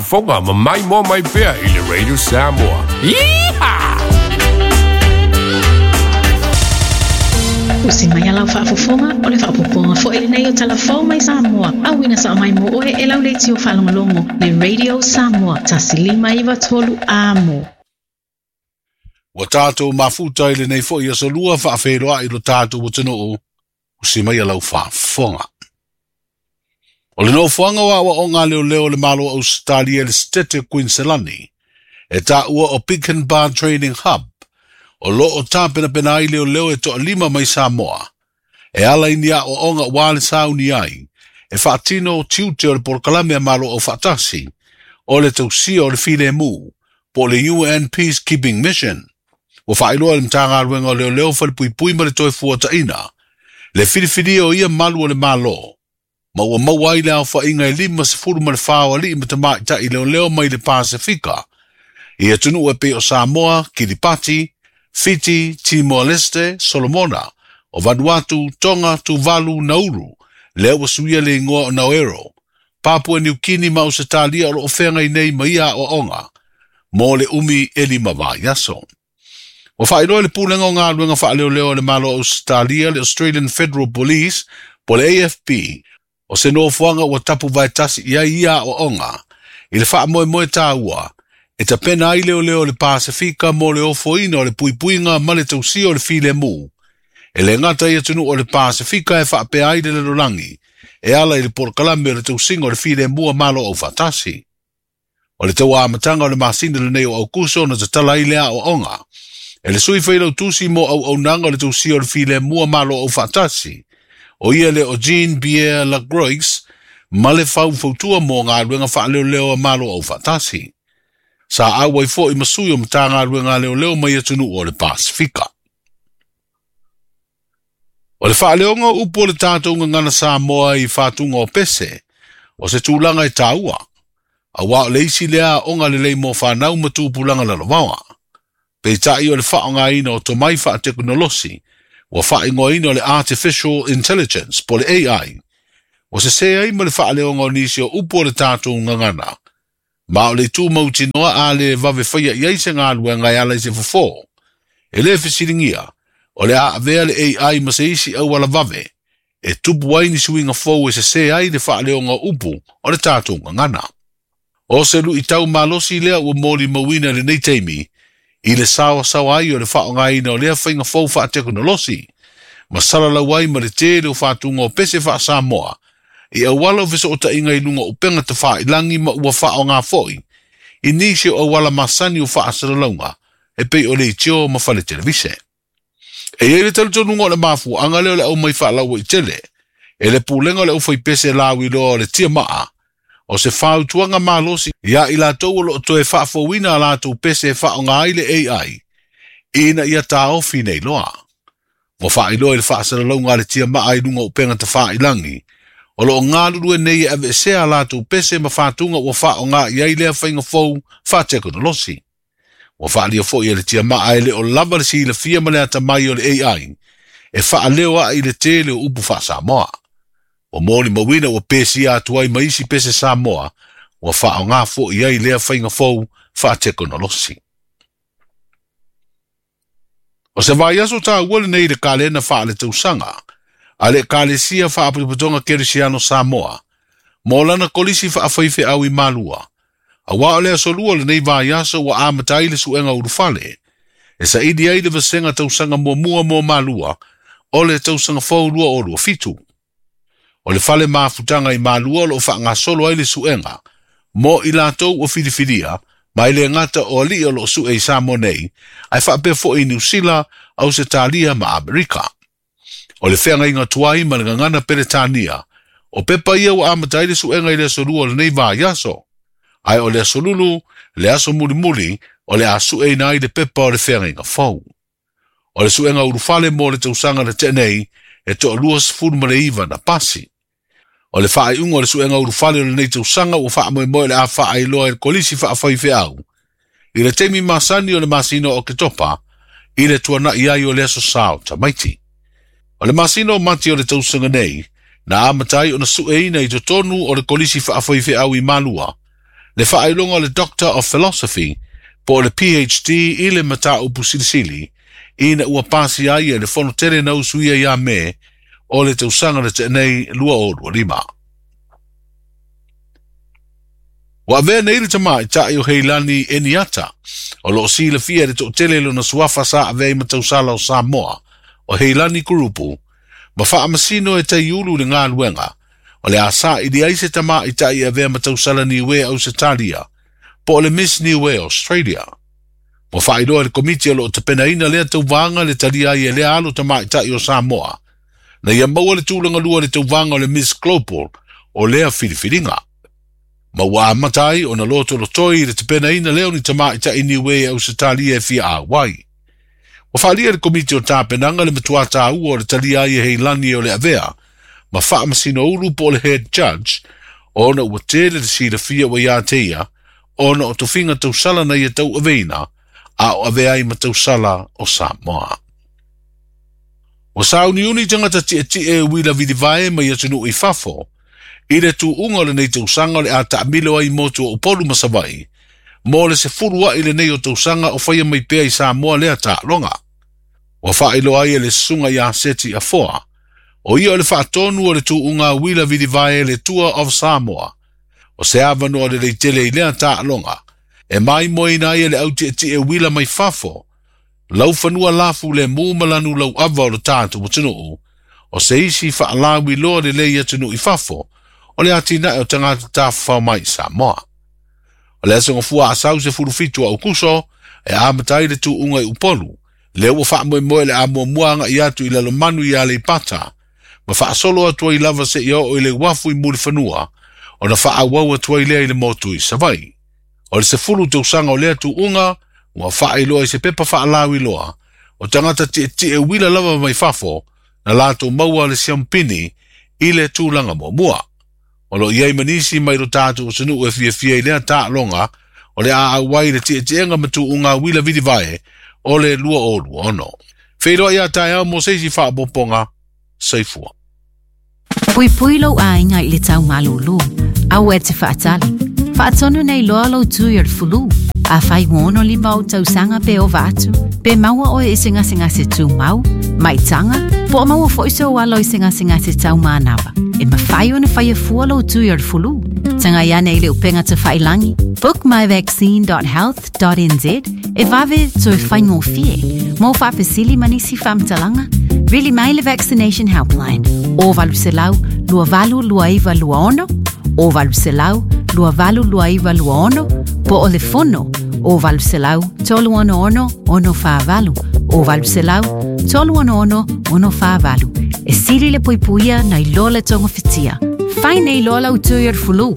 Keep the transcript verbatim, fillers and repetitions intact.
faafofoga ma mai moa mai pea i le Radio Samoa. Iha! Usi mai alau faafofoga o le faapopoga foi lenei o talafou mai Samoa. Auina sa mai mo oe e lau leitio faalogologo le Radio Samoa tasi lima iva tolu amo. Ua tātou mafuta i lenei foi aso lua faafeiloai lo tātou atunuu, usi mai alau faafofoga. O le nofoaga o aoaoga leoleo o le Malo o Ausetalia i le Setete o Queensland, e taua o Pinkenba Training Hub, o loo tapenapena ai leoleo e toalima mai Samoa. E ala i ni aoaoga ua le sauni ai, e faatino tiute o le polokalame a Malo Aufaatasi, o le tausia o le filemu, po o le U N Peacekeeping Mission. Ua faailoa le Matagaluega o Leoleo Falepuipui ma le toe fuataina, le filifilia o ia malu o le Malo, ma ua maua ai le aofaiga e lima sefulu ma le fa o alii ma tamaitai leoleo mai le Pasifika, i atunuu e pei o Samoa, Kiribati, Fiti, Timor-Leste, Solomona, o Vanuatu, Tonga, Tuvalu, Nauru, lea ua suia le igoa o Naoero, Papua New Guinea ma Ausetalia o loo feagai nei ma ia aoaoga, mo le umi e lima vaiaso. Ua faailoa le pulega o galuega faaleoleo a le Malo o Ausetalia, le Australian Federal Police, po le A F P, o se nofoaga ua tapu vaetasi i ai ia aoaoga, i le faamoemoe tāua, e tapena ai leoleo o le Pasifika mo le ofoina o le puipuiga ma le tausia o le filemu. E le gata i atunuu o le Pasifika e faapea ai le lalolagi, e ala i le polokalame o le tausiga o le filemu a Malo Aufaatasi. O le tauamataga o le masina lenei o Aukuso na tatala ai le aoaoga, e le sui failautusi mo auaunaga o le tausia o le filemu a Malo Aufaatasi, o ia le o Jean-Pierre Lacroix, ma le faufautua mo galuega faaleoleo a Malo Aufaatasi. Sa auai foi ma sui o Matagaluega leoleo mai atunuu o le Pasifika. O le faaleoga o upu o le tātou gagana Samoa i fatuga o pese, o se tulaga e tāua, auā o le isi lea aoga lelei mo whanau ma tupulaga lalovaoa. Peitai o le faaaogaina o tomai faatekonolosi, ua faaigoaina o le Artificial Intelligence, po le A I, ua sesē ai ma le faaleoga o nisi o upu o le tātou gagana, ma o le itu mautinoa a le vave faia i ai se galuega e ala i se fofo. E le fesiligia, o le a avea le A I ma se isi auala vave, e tupu ai ni suiga fou e sesē ai le faaleoga o upu o le tātou gagana. O se luitau malosi lea ua molimauina lenei taimi, i le saoasaoa ai o le faaaogaina o lea faiga fou faatekonolosi, ma salalau ai ma le tele o fatuga o pese faasamoa, i auala o fesootaiga i luga o upega tafailagi ma ua faaaoga foi, i nisi o auala masani o faasalalauga, e pei o le itio ma fale televise. E iai le talitonuga o le mafuaaga lea o le aumai faalauaitele, e le pulega o le aufaipese lauiloa o le tiamaa, o se fautuaga malosi ia i latou o loo toe faafouina a latou pese e faaaoga ai le A I, ina ia taofi nei loa. Ua faailoa i le faasalalauga a le tiamaa i luga o upega tafailagi, o loo galulue nei e aveesea a latou pese ma fatuga ua faaaoga i ai lea faiga fou faatekonolosi. Ua faalia foi e le tiamaa e le o lava le silafia ma le atamai o le A I, e faaleo ai i le tele o upu faasamoa. Ua molimauina ua pesia atu ai ma isi pese Samoa, ua faaaoga foi ai lea faiga fou faatekonolosi. O se vaiaso tāua lenei i le kalena faaletausaga, a le Ekalesia Faapotopotoga Kerisiano Samoa, mo lana kolisi faafaifeau i Malua. Auā o le aso lua lenei vaiaso ua amata ai le suega ulufale, e saili ai le vasega tausaga muamua mo Malua, o le tausaga fou lua o lua fitu. O le fale mafutaga i Malua o loo faagasolo ai le suega, mo i latou ua filifilia, ma e le gata o alii o loo sue i Samoa nei, ae faapea foi i Niu Sila, Ausetalia ma Amerika. O le feagaiga tuai ma le gagana Peretania, o pepa ia ua amata ai le suega i le aso lua o lenei vaiaso, ae o le aso lulu, le aso mulimuli, o le a sueina ai le pepa o le feagaiga fou. O le suega ulufale mo le tausaga na tea nei, e toalua sefulu ma le iva na pasi. O le faaiuga o le suega ulufale o lenei tausaga ua faamoemoe le a faailoa e le kolisi faafaifeau, i le taimi masani o le masina o Oketopa, i le tuanai ai o le aso sa o tamaiti. O le masina o Mati o le tausaga nei, na amata ai ona sueina i totonu o le kolisi faafaifeau i Malua, Le faailoga le Doctor of Philosophy po o le P H D i le mataupu silisili ina ua pasi ai e le fono tele na usuia ia me o le tausaga le tenei lua o lua lima. Ua avea nei le tamaitai o Heilani Eniata o loo silafia le toatele lona suafa sa avea i matausala o Samoa o Heilani Kurupu ma faamasino e taiulu le galuega o le asa i ai se tamaitai avea matausala Niue Ausetalia po o le Miss Niue Australia. Ua faailoa le komiti o loo tapenaina lea tauvaga le talia ai e lea alo tamaitai o Samoa na ia maua le tulaga lua le tauvaga o le Miss Global o lea filifiliga. Ma ua amata ai ona lotolotoi i le tapenaina lea o ni tamaitai Niue Ausetalia e fia auai. Ua faalia le komiti o tapenaga le matua tāua o le talia ai e Heilani o le avea ma faamasino ulu po o le head judge ona ua tele le silafia ua ia te ia ona o tofiga tausala na ia tau aveina a o avea ai ma tausala o Samoa. Ua sauniuni tagata tietie uila vilivae mai atunuu i fafo i le tuuga o lenei tausaga o le a taamilo ai motu o Upolu ma Savaii mo le sefulu ai lenei o tausaga o faia mai pea i Samoa lea taaloga. Ua faailoa ai e le susuga ia Seti Afoa o ia o le faatonu o le tuuga uila vilivae le Tour of Samoa o se avanoa lelei tele i lea taaloga e maimoaina ai e le autietie uila mai fafo laufanua lafu le mu ma lanu lauava o le tatou atunuu o se isi faalauiloa lelei atunuu i fafo o le atinae o tagata tafafao mai i Samoa. O le aso gafua asau sefulu fitu a Aukuso e amata ai le tuuga i Upolu lea ua faamoemoe le amuamua agai atu i Lalomanu i Aleipata ma faasolo atu ai lava seia oo i le uafu i Mulifanua ona faaauau atu ai lea i le motu i Savaii. O le sefulu tausaga o lea tuuga ua faailoa i se pepa faalauiloa o tagata tietie uila lava mai fafo na latou maua le siampini i le tulaga muamua. O loo i ai ma nisi mai lo tatou atunuu e fiafia i lea taaloga o le a auai le tietiega ma tuuga uila vilivae o le lua o lua ono. Feiloai ia taeao mo se isi faaopoopoga. Soifua. Puipui lou aiga i le taumalūlū, aua e te faatali. Faatonu nei loa lou tui o le fulu. A fai ua lima o tausaga pe ova atu, pe maua oe i se gasegase tumau, maitaga, po o maua foi sou alo i se gasegase taumanava. E mafai ona faia fua lou tui o le fulu. Tagai ane i le upega tafailangi, book my vaccine dot health dot n z e vave toe faigofie. Mo faafesili ma nisi faamatalaga, vili mai le Vaccination Helpline o valu selau lua valu lua iva lua ono, o valu selau lua valu lua iva lua ono, po o le fono o valu selau tolu ono ono ono whaavalu, o valu selau tolu ono ono ono whaavalu. E sili le puipuia na iloa le tonga fitia. Fai nei loa lau tui o le fulu.